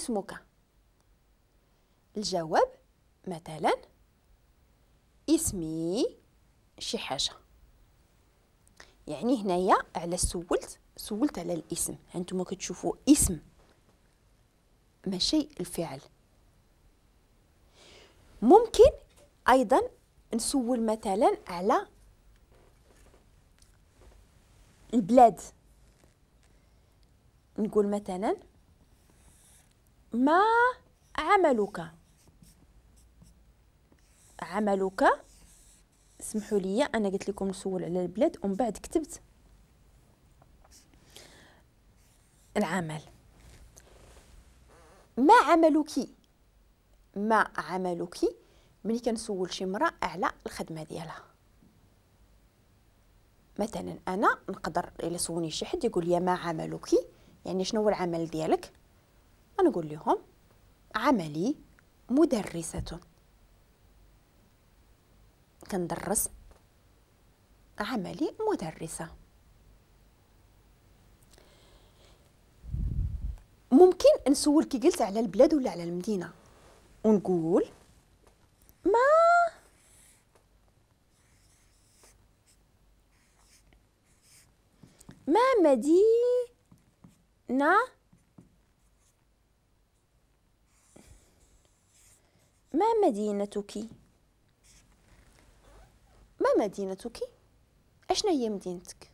اسمك؟ الجواب مثلا اسمي شي حاجة. يعني هنايا على سولت على الاسم. هانتوما كتشوفوا اسم ماشي الفعل. ممكن ايضا نسول مثلا على البلاد، نقول مثلا ما عملك؟ عملك، اسمحوا لي انا قلت لكم نسول على البلاد ومن بعد كتبت العمل. ما عملك؟ ما عملك ملي كنسول شي مرأة على الخدمة ديالها. مثلا انا نقدر الا سولني شي حد يقول لي ما عملك، يعني شنو هو العمل ديالك، انا نقول لهم عملي مدرسة، كندرس، عملي مدرسة. ممكن نسول كي قلت على البلاد ولا على المدينة ونقول ما مدينة، ما مدينتك؟ ما مدينتك؟ اشنا هي مدينتك؟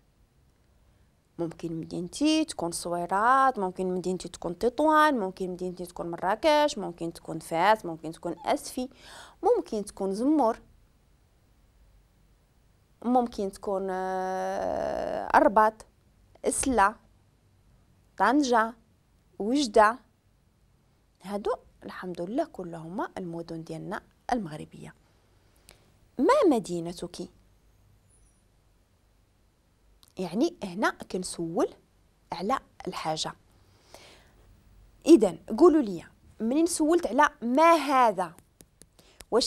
ممكن مدينتي تكون صويرات، ممكن مدينتي تكون تطوان، ممكن مدينتي تكون مراكش، ممكن تكون فاس، ممكن تكون أسفي، ممكن تكون زمور، ممكن تكون الرباط، سلا، طنجة، وجدة. هادو الحمد لله كلهما المدن ديالنا المغربية. ما مدينتك؟ يعني هنا كنسول على الحاجة. إذا قولوا لي منين سولت على ما هذا، واش